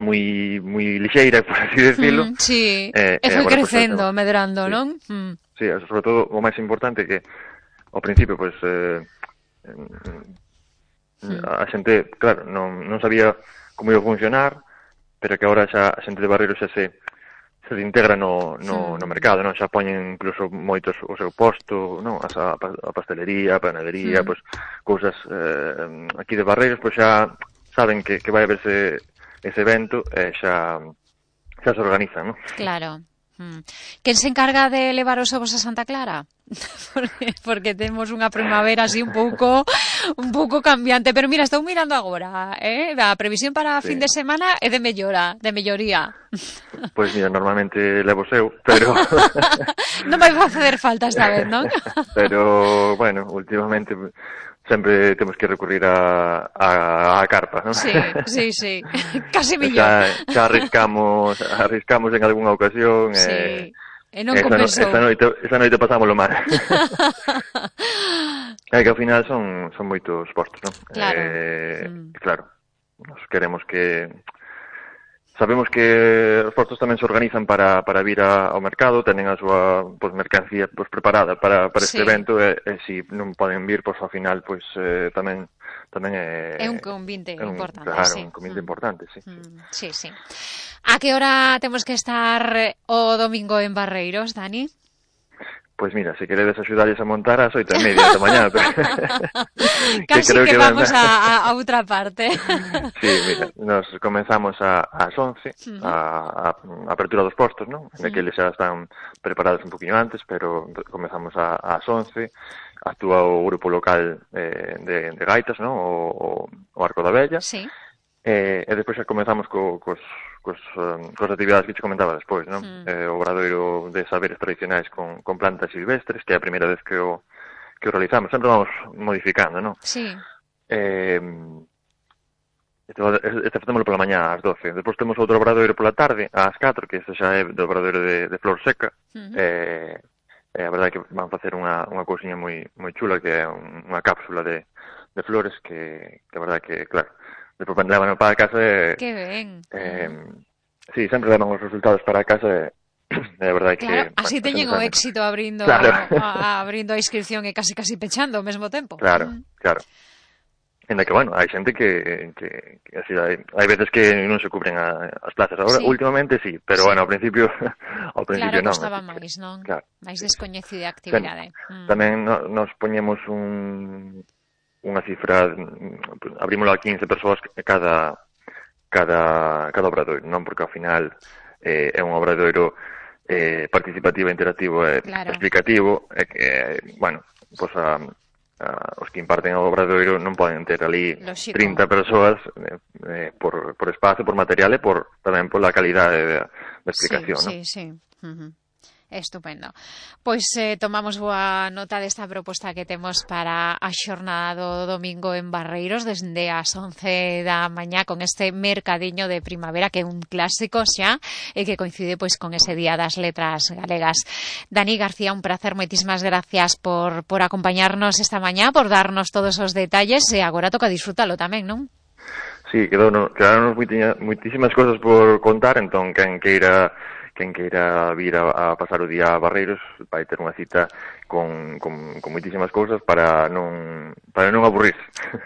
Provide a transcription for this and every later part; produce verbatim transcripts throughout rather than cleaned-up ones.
moi moi lixeira, por así decirlo. Mm, sí, eh, e foi agora, crecendo, pues, medrando, sí, non? Mm. sí, sobre todo o máis importante que ao principio, pois, eh, Mm. a xente, claro, non, non sabía como ia funcionar, pero que agora xa a xente de Barreiros xa se se integra no, no, no mercado, non? Xa poñen incluso moitos o seu posto, non? As, a, a pastelería, a panadería, Mm. pois, cousas eh, aquí de Barreiros, pois xa saben que, que vai haberse ese evento e xa, xa se organizan, non? Claro. Mm. Quen se encarga de levar os ovos a Santa Clara? porque, porque temos unha primavera así un pouco un pouco cambiante, pero mira, estou mirando agora, eh? A previsión para Sí. fin de semana é de mellora, de melloría. Pois mira, normalmente levo seu, pero non vai facer falta esta vez, non? pero, bueno, últimamente sempre temos que recurrir a, a, a carpa, non? Sí, sí, sí, casi millor. Xa, xa arriscamos, arriscamos en algunha ocasión, sí. e, e non esa, compensou. esa, noite, esa noite pasámoslo mal. É que ao final son, son moitos postos, non? Claro. Eh, mm. Claro, nos queremos que... Sabemos que os postos tamén se organizan para, para vir a, ao mercado, tenen a súa pues, mercancía pues, preparada para, para este sí. evento, e, e se si non poden vir, pues, ao final pues, eh, tamén tamén é... É un convite é un, importante, claro, sí. un convite mm. importante, sí. Mm, sí, sí. A que hora temos que estar o domingo en Barreiros, Dani? Pois mira, se queredes axudarles a montar ás oito e media da mañá. Casi que, creo que, que vamos van... a, a outra parte. Sí, mira, nos comenzamos a, ás once, Uh-huh. a, a, a apertura dos postos, non? Uh-huh. Daqueles xa están preparados un poquinho antes, pero comenzamos a, ás once, actúa o grupo local eh, de, de gaitas, non? O, o Arco da Vella. Sí. Eh, e despois xa comenzamos co, cos, cos, um, cos actividades que te comentaba despois, non? Mm. Eh, o obradoiro de saberes tradicionais con, con plantas silvestres, que é a primeira vez que o, que o realizamos. Sempre vamos modificando, non? Sí. Eh, este, este facémoslo pola mañá ás doce. Despois temos outro obradoiro pola tarde, ás catro, que este xa é do obradoiro de, de flor seca. Mm-hmm. Eh, eh, a verdade é que van facer unha, unha cousiña moi, moi chula, que é unha cápsula de, de flores, que, que a verdade é que, claro, despois levan para casa e... Que ben. Eh, sí, sempre levan os resultados para casa e é verdade que... Claro, así bueno, teñen o éxito abrindo, claro. a, abrindo a inscripción e casi casi pechando ao mesmo tempo. Claro, mm. claro. Ainda que, bueno, hai xente que, que, que así, hai, hai veces que non se cubren a, as plazas. Agora, sí. últimamente sí, pero sí. bueno, ao principio ao principio claro, non. Claro, costaba máis, non? Claro. máis descoñecida a actividade. Mm. Tamén no, nos poñemos un unha cifra, abrímoslo a quince persoas cada cada cada obradoiro, non? Porque ao final eh, é un obradoiro eh, participativo, interactivo e claro. explicativo, e que, eh, bueno, pois a, a, os que imparten o obradoiro non poden ter ali Lógico. trinta persoas eh, eh, por, por espazo, por material e por, tamén por la calidade da explicación, sí, non? Sí, sí, uh-huh. Estupendo. Pois eh, tomamos boa nota desta proposta que temos para a xornada do domingo en Barreiros desde as once da mañá con este mercadiño de primavera que é un clásico xa e que coincide pois con ese Día das Letras Galegas. Dani García, un placer, moitísimas gracias por, por acompañarnos esta mañá, por darnos todos os detalles e agora toca disfrútalo tamén, non? Sí, quedaron, quedaron moitísimas cosas por contar, entón quen queira quen queira vir a, a pasar o día a Barreiros vai ter unha cita con, con, con moitísimas cousas para non para non aburrir.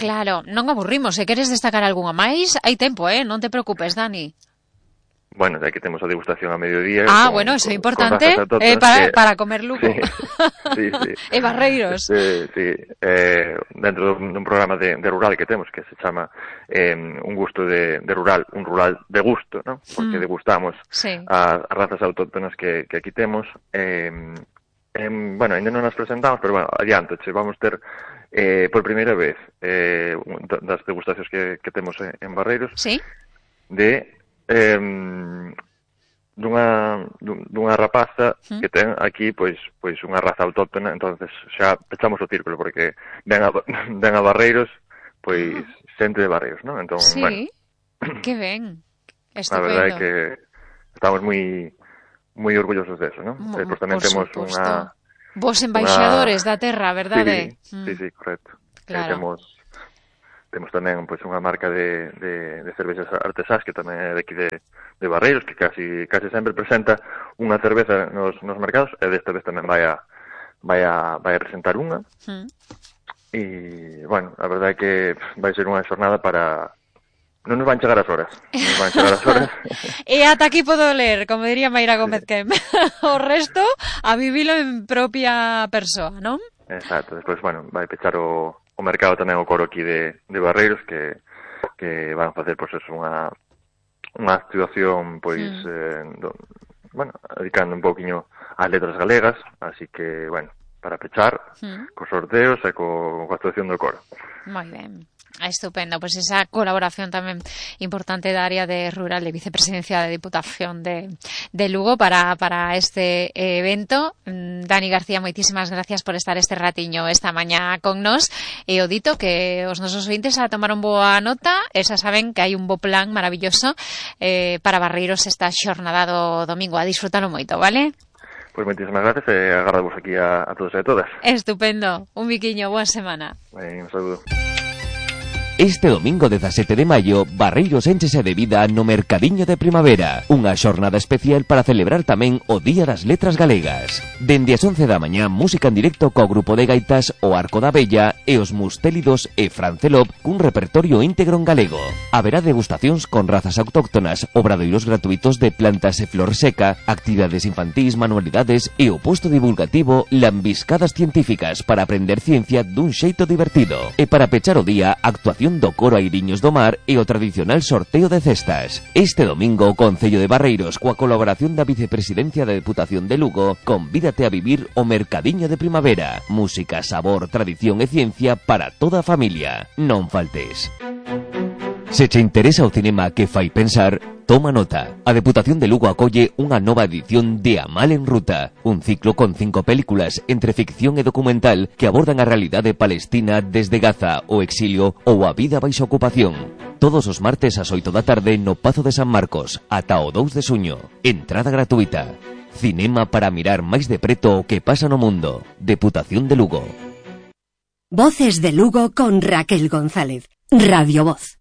Claro, non aburrimos. Se queres destacar algunha máis, hai tempo, eh? Non te preocupes, Dani. Bueno, ya que temos a degustación a mediodía. Ah, con, bueno, eso é con, importante con eh, para, que, para comer luco. Sí, sí, sí. E Barreiros. Sí, sí. Eh, dentro dun programa de, de rural que temos, que se chama eh, un gusto de, de rural, un rural de gusto, ¿no? Porque mm. degustamos sí. as razas autóctonas que, que aquí temos. Eh, eh, bueno, ainda non as presentamos, pero bueno, adianto, che, vamos ter eh, por primeira vez eh, das degustacións que, que temos en Barreiros. Sí. De... Eh, dunha dunha rapaza ¿Mm? Que ten aquí pois pois unha raza autóctona, entonces xa pechamos o círculo porque ven a, ven a Barreiros pois ah. xente de Barreiros, ¿no? Entón, sí. bueno. Que ben. Estupendo. A verdade é que estamos moi moi orgullosos deso, ¿no? Mo, Despois tamén temos unha vos embaixadores una... da terra, verdade? Sí, mm. sí, sí, correcto. Claro. Eh, temos temos tamén pois unha marca de, de, de cervexas artesás que tamén é de aquí de, de Barreiros, que casi casi sempre presenta unha cerveza nos, nos mercados, e desta vez tamén vai a vai a, vai a presentar unha. Mm. E, bueno, a verdade é que vai ser unha xornada para... Non nos van chegar as horas. Non nos van chegar as horas. E ata aquí podo ler, como diría Mayra Gómez Quem. O resto, a vivilo en propia persoa, non? Exacto. Despois, bueno, vai pechar o, o mercado tamén o coro aquí de, de Barreiros, que, que van facer, pois, eso, unha, unha actuación, pois, mm. eh, do, bueno, dedicando un pouquiño ás letras galegas, así que, bueno, para pechar, mm. cos sorteos e co, coa actuación do coro. Moi ben. Estupendo, pois pues esa colaboración tamén importante da área de rural de vicepresidencia da Diputación de, de Lugo para, para este evento. Dani García, moitísimas gracias por estar este ratiño esta mañá con nós, e o dito que os nosos ointes a tomaron boa nota, e xa saben que hai un bo plan maravilloso eh, para Barreiros esta xornada do domingo, a disfrutalo moito, vale? Pois pues moitísimas gracias e agardamos aquí a, a todos e a todas. Estupendo, un biquiño, boa semana. Ben, un saludo. Este domingo dezasete de maio, Barreiros énchese de vida no Mercadiño de Primavera, unha xornada especial para celebrar tamén o Día das Letras Galegas. Dende as once da mañá, música en directo co grupo de gaitas O Arco da Bella e os Mustélidos e Francelop cun repertorio íntegro en galego. Haberá degustacións con razas autóctonas, obradoiros gratuitos de plantas e flor seca, actividades infantís, manualidades e o posto divulgativo Lambiscadas Científicas para aprender ciencia dun xeito divertido. E para pechar o día, actuación do coro Airiños do Mar e o tradicional sorteo de cestas. Este domingo o Concello de Barreiros, coa colaboración da Vicepresidencia da Deputación de Lugo, convídate a vivir o Mercadiño de Primavera. Música, sabor, tradición e ciencia para toda a familia. Non faltes. Se che interesa o cinema que fai pensar, toma nota. A Deputación de Lugo acolle unha nova edición de A Mal en Ruta, un ciclo con cinco películas entre ficción e documental que abordan a realidade palestina desde Gaza, o exilio ou a vida baixo ocupación. Todos os martes ás oito da tarde no Pazo de San Marcos, ata o dous de xuño. Entrada gratuita. Cinema para mirar máis de preto o que pasa no mundo. Deputación de Lugo. Voces de Lugo con Raquel González. Radio Voz.